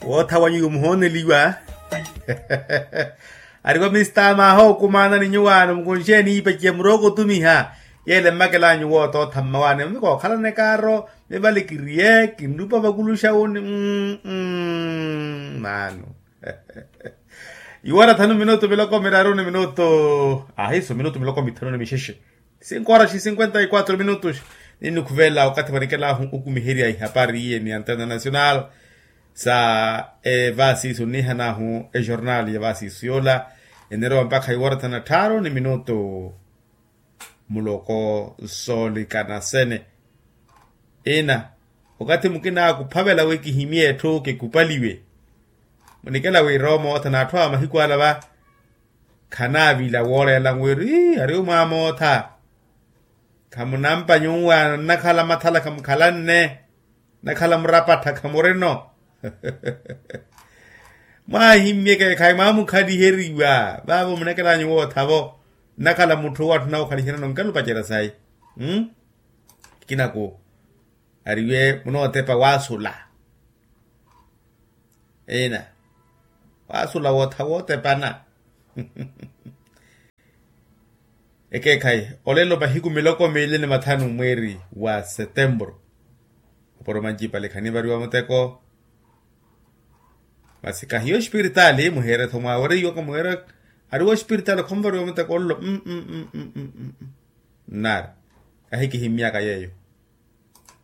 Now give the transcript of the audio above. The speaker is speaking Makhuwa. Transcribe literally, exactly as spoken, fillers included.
Wootha wanyu yomuhooneliwa. Ariwa mistamaha okumaana ni nyuwaano mukunxeeni iipeciya murooko otumiha. Yeele mmakel'anyu woota othamma waani mikookhalana ekaaro. Mivale kiriye kinrupa vakuluxa woni. Maano. Iwara thanu minutu miloko miraru ni minutu. Ahiso minutu miloko mithanu ni mixexe. Cinco horas e cinquenta e quatro minutos. Ninnukhuvela okathi vanikelahu okumiherya ihapari iye ni antena nacional sa evasisu nihanahu ejornal ya vasisu yola. Enerowa mpakha iwara thanu na tthaaru ni minutu. Muloko soolikanasene. Ina okathi mukina akuphavela wi kihimye etthu kikupaliwe. Munikela wi rooma othana atthu a mahiku ala va khanaavila wooreela wiri ari omwaamootha. Khamunampa nyuwaano nnakhala mathala khamukhalanne. Nnakhala murapattha khamurino. Mwaahimmyeke khayi mwamukhaliheriwa vaavo munekelanyu woothavo. Nnakhala mutthu owo atthu nawukhaliherya nonkelupacerya sayi. Kinaku ariwe munootepa waasula. Ina waasula wootha wootepana. Ekeekhayi olelo mahiku miloko miili ni mathanu mweeri wa setemburu. Oporo mancipale khanivariwa muteko. Masi kahiyo ospiritaali muheere-tho mwaawereiwaka muheere. Ariwo ospiritaali khonvariwa muteko ollo. Nnaari ahikihimmyaka yeeyo.